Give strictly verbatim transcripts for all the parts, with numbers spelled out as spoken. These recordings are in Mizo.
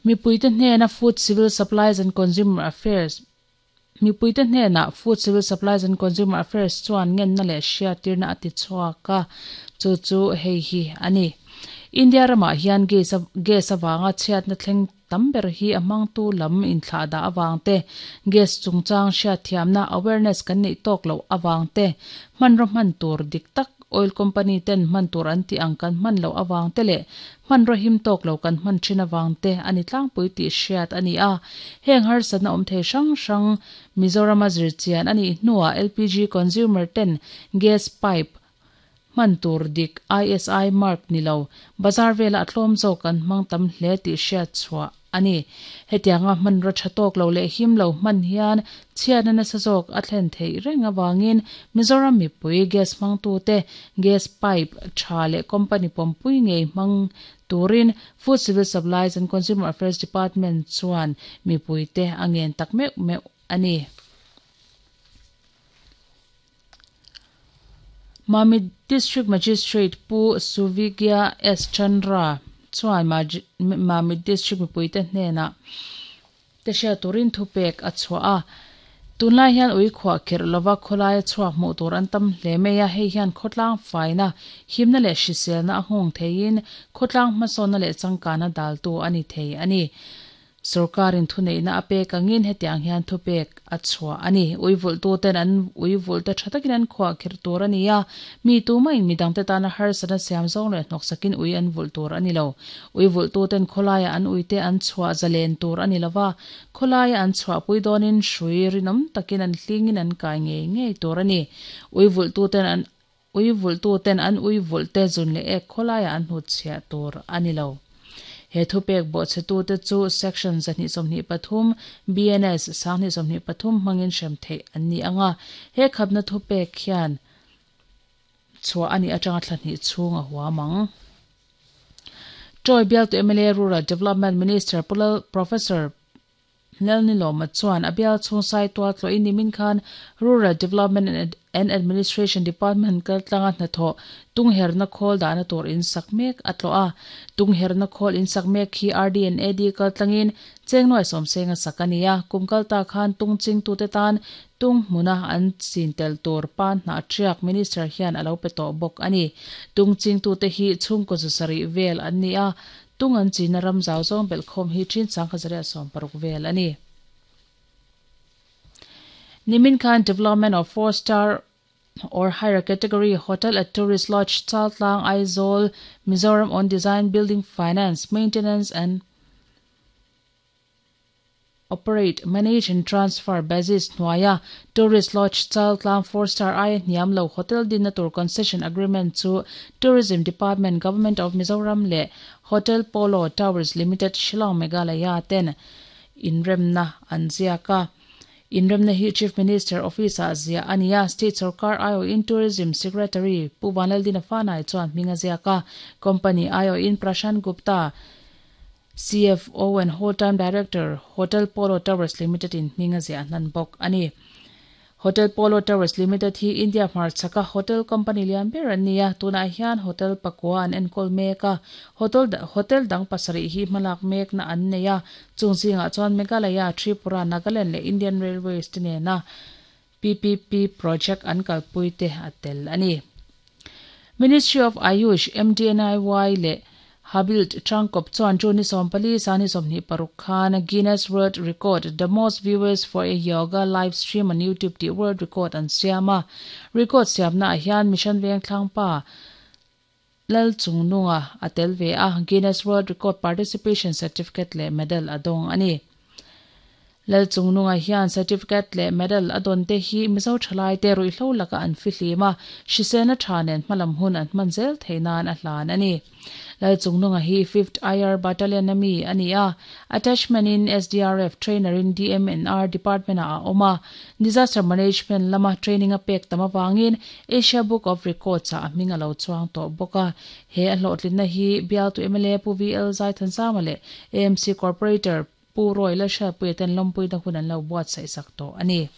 Mipuite hnena Food Civil Supplies and Consumer Affairs Mipuite hnena Food Civil Supplies and Consumer Affairs chuan ngenna leh hriattirna a ti chhuak a, chu chu hei hi a ni. India ramah hian gas gas awanga chhiatna thleng tam ber hi a hmangtu lam inthlah dah awang te, gas chungchang hriatthiamna awareness kan neih tawk loh awang te, hmanraw hman tur dik tak oil company ten hman tur an tih ang kan hman loh awang te leh hmanraw him tawk lo kan hman thin awang te a ni tlangpui tih hriat a ni a. Heng harsatna awm thei hrang hrang Mizoram a zirchian a nih hnuah L P G consumer ten gas pipe hman tur dik I S I mark ni lo bazar vela a tlawm zawk kan hmang tam hle tih hriat chhuah a ni. Hetianga hmanraw tha tawk lo leh him lo hman hian chhiatna nasa zawk a thlen theih reng awangin Mizoram mipui gas hmangtu te gas pipe tha leh company pawmpui ngei hmang turin Food Civil Supplies and Consumer Affairs Department chuan mipui te a ngen tak meuh meuh a ni. Mamit District Magistrate Pu Suvigya S Chandra chuan Mamit District mipuite hnenah te hriat turin thupek a chhuah a. Tunlai hian ui khuah kherh lova khawlai a chhuak hmuh tur an tam hle mai a, hei hian khawtlang faina himna leh hriselna a nghawng theiin khawtlang hmasawnna leh changkana daltu a ni thei a ni. Sorkarin thuneihna a pek angin hetiang hian thupek a chhuah a ni. Ui vulhtuten an ui vulhte tha takin an khuah kherh tur a ni a, mi tumah-in midangte tana harsatna siam zawng leh hnawksakin ui an vulh tur a ni lo. Ui vulhtuten khawlaiah an uite an chhuah zalen tur a ni lova, khawlaia an chhuahpui dawnin hrui rinawm takin an hlingin an kai ngei ngei tur a ni. Ui vulhtuten an ui vulhtuten an ui vulhte zun leh ek khawlaiah an hnutchhiah tur a ni lo. He thupek bawhchhetute chu Section zahnih sawmhnih pathum B N S sanghnih sawmhnih pathum hmangin hrem theih an ni ang a, he khapna thupek hian chhuah a nih atanga thla hnih chhung a huam ang. Troy bialtu M L A Rural Development Minister Professor Lalnilawma chuan a bial chhung sai tual tlawhin nimin khan Rural Development and Administration Department kaltlanga hnathawh tungherna khawl dahna tur in sak mek a tlawh a. Tungherna khawl in sak mek hi R D and A D kaltlangin chengnuai sawmseng a sak a ni a. Kum kalta khan tung chingtute tan tung hmuna an chin tel tur pan hnah thiak Minister hian a lo pe tawh bawk a ni. Tung chingtute hi chhungkaw zasarih vel an ni a, tung an china ram zau zawng belhkhawm hi thin sangkhat zariat sawm paruk vel a ni. Nimin khan development of four star or higher category hotel at Tourist Lodge Chaltlang, Aizawl, Mizoram on design, building, finance, maintenance and operate, manage and transfer basis hnuaia Tourist Lodge Chaltlang four star aia hniam lo hotel dinna tur concession agreement chu Tourism Department, Government of Mizoram leh Hotel Polo Towers Limited, Shillong, Meghalaya ten inremna an ziak a. Inremna hi Chief Minister Office ah ziah a ni a, State Sarkar aiawhin Tourism Secretary Pu Vanlaldina Fanai chuan hming a ziak a. Company aiawhin Prashant Gupta, C F O and Whole-time Director, Hotel Polo Towers Limited in hming a ziah hnan bawk a ni. Hotel Polo Towers Limited hi India hmarchhaka hotel company lian ber an ni a, tunah hian hotel pakua an enkawl mek a, hotel hotel dang pasarih hi hmalak mekna an nei a, chung zingah chuan Meghalaya, Tripura, Nagaland leh Indian Railways te nena P P P project an kalpui te a tel a ni. Ministry of Ayush, M D N I Y leh Habilt Tangkawp chuan June ni sawmpali sangni sawmhnih paruk khan Guinness World Record the most viewers for a yoga live stream on YouTube tih world record an siam a. Record siamna ah hian Mission Vengthlangpa Lalchungnunga a tel ve a, Guinness World Record participation certificate leh medal a dawng a ni. Lalchungnunga hian certificate leh medal a dawn te hi Mizo thalai te ruihhlo laka an fihlim a, hriselna tha nen hmalam hun an hman zel theih nan a hlan a ni. Lalchungnunga hi fifth I R Battalion a mi a ni a, attachment in S D R F trainer in D M N R department ah a awm a, disaster management lama training a pek tam awangin Asia Book of Records ah a hming a lo chuang tawh bawk a. He a hlawhtlinna hi bialtu M L A Pu V L Zaithanzama leh A M C Corporator Pu Roy Lalhriatpuia ten lawmpuina hun an lo buatsaih sak tawh a ni.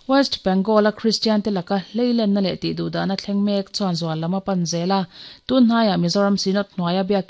West Bengal a Christian te laka hleilenna leh tih duhdahna thleng mek chuan zual lam a pan zel a, tun hnaiah Mizoram Synod hnuaia biakin